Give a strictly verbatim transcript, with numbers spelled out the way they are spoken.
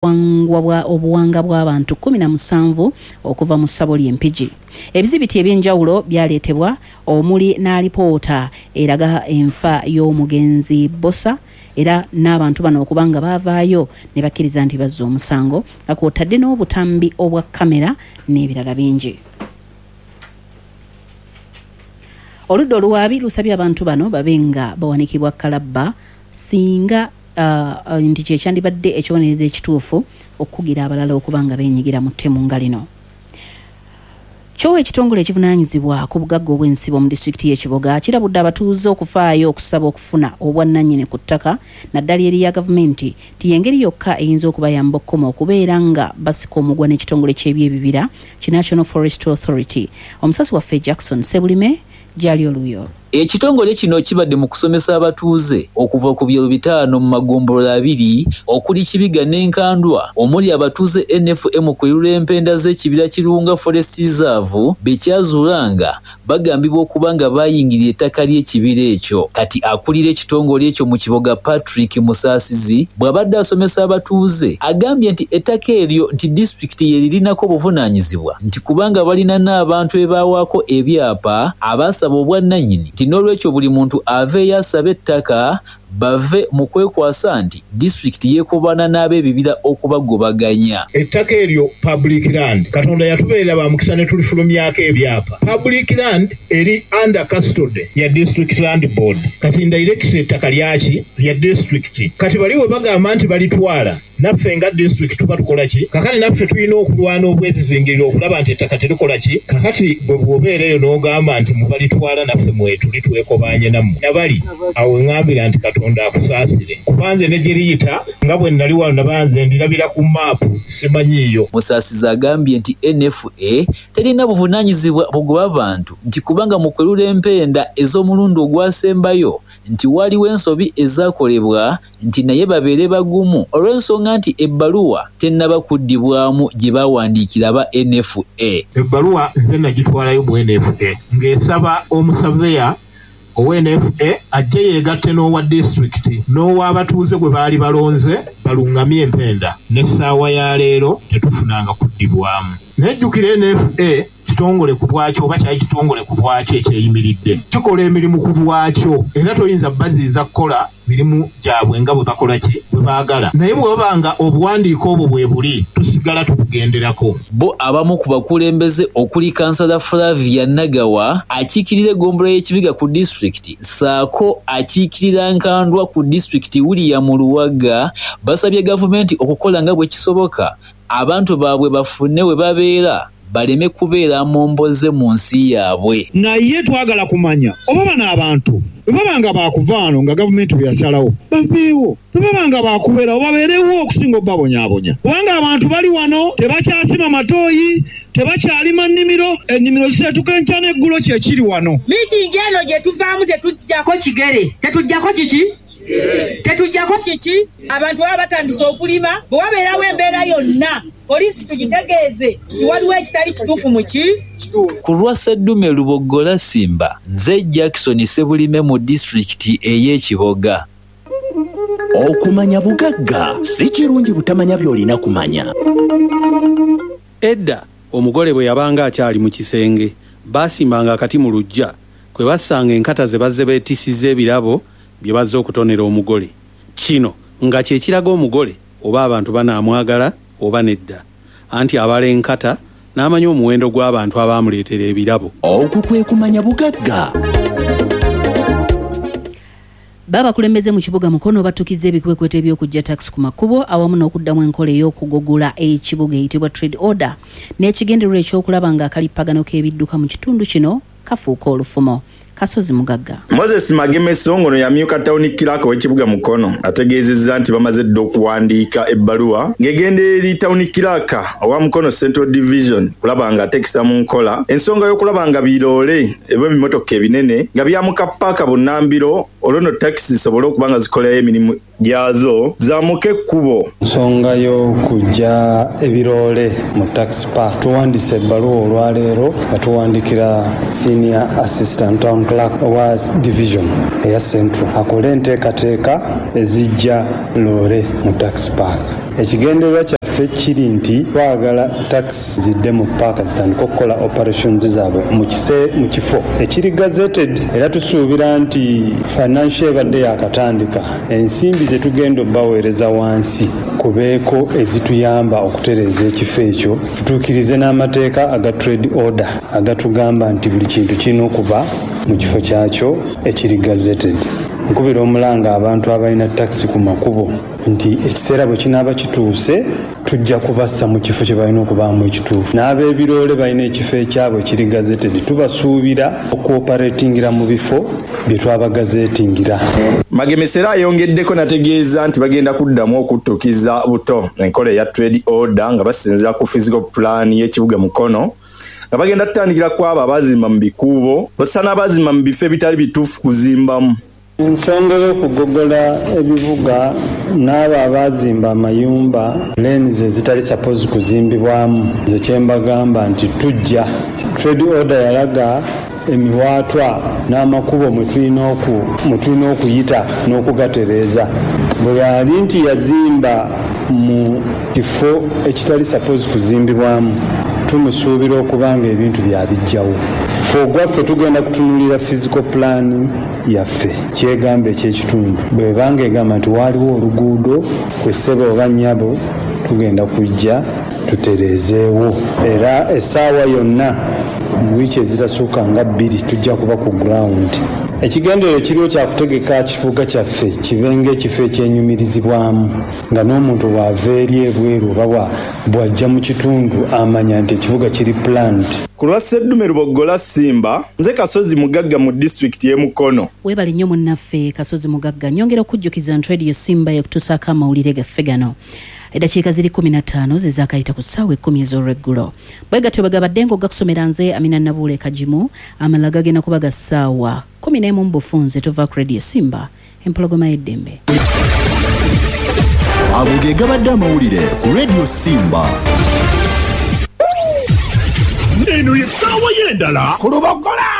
Obuwanga bw'abantu kkumi na musanvu okuva mu ssabo ly'Empigi. Ebizibiti eby'enjawulo byaleetebwa, omuli n'alipoota eraga enfa y'omugenzi Bosa, era n'abantu bano okuba nga baavaayo ne bakkiriza nti bazza omusango, nga kw'otadde n'obutambi obwa kamera n'ebirala bingi. Oludda oluwaabi lusabye abantu bano babe nga bawanikibwa kalabba singa uh, nti kye kyandibadde ekibonerezo ekituufu okukugira abalala okuba nga beenyigira mu ttemu nga lino. Kyo ekitongole ekivunaanyizibwa ku bugagga obw'ensibo mu disitulikiti y'e Kiboga kirabudde abatuuze okufaayo okusaba okufuna obwannannyini ku ttaka, naddala erya gavumenti, nti y'engeri yokka eyinza okubayamba okukoma okubeera nga basika omugwa n'ekitongole ky'ebyebibira ki National Forest Authority. Omusasi waffe Jackson Sebulime gyali oluyo. Ekitongole kino kibadde mu kusomesa abatuuze okuva ku byalo bitaano mu magombolola abiri okuli Kibiga n'Enkandwa, omuli abatuuze N F M kwerula empenda z'ekibira Kirunga Forest Reserve be kyazuula nga bagambibwa okuba nga baayingirira ettaka ly'ekibira ekyo. Kati akulira ekitongole ekyo mu Kiboga, Patrick Musaasizi, bw'abadde asomesa abatuuze agambye nti ettaka eryo nti disitulikiti ye lirinako obuvunaanyizibwa, nti kubanga balina n'abantu be baawaako ebyapa abaasaba obwannannyini, nti n'olwekyo buli muntu aveeyo asabe ettaka bave mu kwekwasa nti disitulikiti yeekobaana n'ab'ebibira okubagobaganya. Ettaka eryo public land, Katonda yatubeerera ba mukisa ne tulifulumyako ebyapa. Public land eri under custody ya District Land Board. Kati direct ettaka lyaki lya district. Kati bali we bagamba nti balitwala, naffe nga district tuba tukola ki? Kakati naffe tulina okulwana obwezizingiriro okulaba nti ettaka terikola ki? Kakati bwe bw'obeera eyo n'ogamba nti mubalitwala, naffe mwetuli twekobaanye nammwe nabali awo ŋŋambira nti Katonda akusaasire, kubanze ne gye liyita nga bwe nali wano nabanze ndirabira ku maapu simanyiiyo. Musaasizi agambye nti N F A terina buvunaanyizibwa bugoba bantu, nti kubanga mu kwerula empenda ez'omulundi ogwasembayo nti waliwo ensobi ezaakolebwa, nti naye babeere bagumu olw'ensonga nti ebbaluwa tennaba kuddibwamu gye baawandiikira aba N F A. Ebbaluwa nze nagitwalayo mu N F A ng'esaba omusaveya owa N F A ajje yeegatte n'owa disitulikiti n'ow'abatuuze gwe baali balonze balungamye empenda, n'essaawa ya leero tetufunanga kuddibwamu. Naye jjukira N F A kitongole ku bwakyo oba kyali kitongole ku bwakyo ekyeyimiridde, kikola emirimu ku bwakyo, era toyinza baziiza kukola mirimu gyabwe nga bwe bakola ki bwe baagala. Naye bwe baba nga obuwandiike obwo bwe buli, tusigala tubugenderako. Bo abamu ku bakulembeze okuli Kansala Flavia Nagawa akiikirira eggombolola y'Ekibiga ku disitulikiti ssaako akiikirira Nkandwa ku disitulikiti William Luwaga basabye gavumenti okukola nga bwe kisoboka abantu baabwe bafune we babeera baleme kubeera momboze mu nsi yaabwe. Naye twagala kumanya oba bano abantu bwe baba nga baakuva wano nga gavumenti bwe yasalawo baveewo, bwe baba nga baakubeerawo babeerewo okusinga obbabonyaabonya, kubanga abantu bali wano tebakyasima matooyi, tebakyalima nnimiro, ennimiro ziseetuka enkya n'eggulo kye kiri wano. Miitingi eno gye tuvaamu tetuggyako kigere, tetuggyako kiki? Tetuggyako kiki? Abantu baba batandise okulima, bwe wabeerawo embeera yonna poliisi tugitegeeze nti waliwo ekitali kituufu mu ki? Ku lwa Sseddume Luboggola Simba, nze Jackson Sebulime mu disitulikiti ey'e Kiboga. Okumanya bugagga si kirungi butamanya by'olina kumanya. Edda omugole bwe yabanga akyali mu kisenge, baasimbanga akati mu luggya kwe bassanga enkata ze bazze beetisiza ebirabo bye bazze okutonera omugole. Kino nga kye kiraga omugole oba abantu banaamwagala oba nedda, anti abala enkata n'amanya omuwendo gw'abantu abaamuleetera ebirabo. Okwo kwe kumanya bugagga. Babakulembeze mu kibuga Mukono batukiza ebikwekweto eby'okuggya takisi ku makubo awamu n'okuddamu enkola ey'okugogola ekibuga eyitibwa trade order, n'ekigendererwa ekyokulaba ng'akalippagano k'ebidduka mu kitundu kino kafuuka olufumo. Kasozi Mugagga. Moses Magemeso ngono yamyuka town clerk w'ekibuga Mukono ategeezezza nti bamaze dda okuwandiika ebbaluwa ng'egenda eri town clerk owa Mukono Central Division kulaba nga ateekesa mu nkola ensonga y'okulaba nga biroole eb'ebimotoka ebinene nga byamuka paaka bunnambiro, olwo nno takisi zisobole okuba nga zikolayo emirimu gyazo zaamuka ekkubo. Ensonga y'okuggya ebiroole mu taxi park, tuwandiise ebbaluwa olwaleero nga tuwandikira senior assistant town clerk owa division eya Central akole enteekateeka ezijja loole mu taxi park. Ekigendererwa kyaffe kiri nti twagala takisi zidde mu paaka zitandike okukola operations zaabwe mu kifo ekiri gazetted, era tusuubira nti financial ebadde yakatandika, ensimbi ze tugenda obbaweereza wansi kubeeko ezituyamba okutereeza ekifo ekyo, tutuukirize n'amateeka aga trade order agatugamba nti buli kintu kirina okuba mu kifo kyakyo ekiri gazetted. Nkubira omulanga abantu abalina takisi ku makubo nti ekiseera bwe kinaaba kituuse tujja kubassa mu kifo kye balina okubaamu ekituufu. N'ab'ebiroole balina ekifo ekyabwe ekiri gazetted, tubasuubira okuoperatingira mu bifo bye twabagazetingira. Magemesera ayongeddeko n'ategeeza nti bagenda kuddamu okuttukiza buto enkola eya trade order nga basinziira ku physical plan y'ekibuga Mukono, nga bagenda kutandikira ku abo abazimba mu bikuubo ossa n'abazimba mu bifo ebitali bituufu kuzimbamu. Ensonga y'okugogola ebibuga n'abo abazimba amayumba lanes ezitali supposed kuzimbibwamu, nze kye mbagamba nti tujja. Trade order yalaga emiwaatwa n'amakubo mwe tulina okuyita n'okugatereeza. Bwe yali nti yazimba mu kifo ekitali supposed kuzimbibwamu, tumusuubira okuba nga ebintu byabijjawo. Ffe ogwaffe tugenda kutunuulira physical plan yaffe kyegamba ekyekitundu. Bw'ebanga egamba nti waaliwo oluguudo kwe ssebo oba nnyabo, tugenda kujja tutereezeewo, era essaawa yonna mu wiiki ezitasukka nga bbiri tujja kuba ku ground. Ekigendererwa kiriwo kya kutegeka kibuga kyaffe kibe ng'ekifo ekyenyumirizibwamu, nga n'omuntu bw'ava eri ebweru oba bw'ajja mu kitundu amanya nti ekibuga kiri planned. Ku lwa Sseddume Luboggola Simba, nze Kasozi Mugagga mu disitulikiti y'e Mukono. Weebale nnyo munnaffe Kasozi Mugagga. Nyongera okujjukiza nti Radio Simba yekutuusaako amawulire gaffe gano. Eddakiika ziri kkumi na ttaano ze zaakayita ku ssaawa ekkumi ez'olweggulo. Bwe gatyo bwe gabadde ng'ogakusomera nze Amina Nabuule Kagimu, amalala gagenda kuba ga ssaawa kkumi n'emu mu bufunze. Tuva ku Radio Simba, empologoma y'eddembe. Ago ge gabadde amawulire ku Radio Simba. Eno ye ssaawa y'endala ku Luboggola.